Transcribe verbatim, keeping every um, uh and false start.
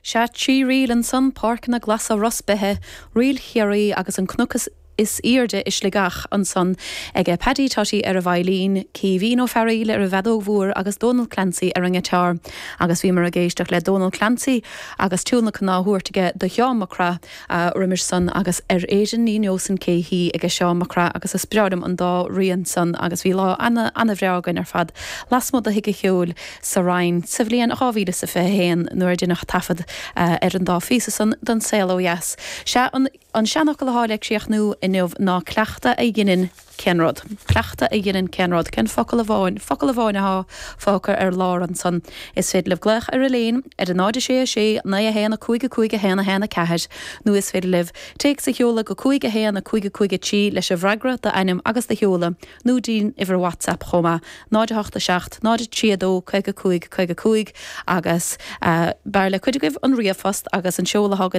Sea trí ríl ansan Páirceanna Glasa Ros Beithe, Ríl Chiarraí agus an cnoc is airde i Sligeach ansan ag Paddy Totty ar an veidhlín, Caoimhín Ó Fearghaíl ar an bhfeadóg mhór agus Donal Clancy ar an ngiotár. Agus bhíomar ag éisteacht le Donal Clancy agus tionlacan á thabhairt aige do Sheán Mac Craith roimis san agus ar Éirinn ní neosainn cé hí ag Seán Mac Craith agus is breá liom an dá rian san agus bhí lá ana ana-bhreá againn ar fad. Lasmuigh de Thigh an Cheoil sa Rinn sa bhliain dhá mhíle sa fiche haon nuair a deineadh taifead ar an dá phíosa san don saol ó dheas. Sea an an seanfhocal atá le críochnú inniu ná cleachtadh a dhéanann cén rud. Cleachtadh a dhéanann cén rud, cén focal amháin, focal amháin atá fágtha ar lár ansan. Is féidir libh glaoch ar an líne ar a náid sé a sé naoi a haon a cúig a cúig a haon a haon a ceathair, nó is féidir libh téacs a sheoladh go cúig a haon a cúig a cúig a trí leis an bhfreagra d'ainm agus do sheoladh, nó dtí'n uimhir WhatsApp chomh maith, náid a hocht a seacht, náid a trí a dó, caoga cúig caoga cúig agus uh, b'fhearr le cuid agaibh an ríomhphost agus an seoladh againn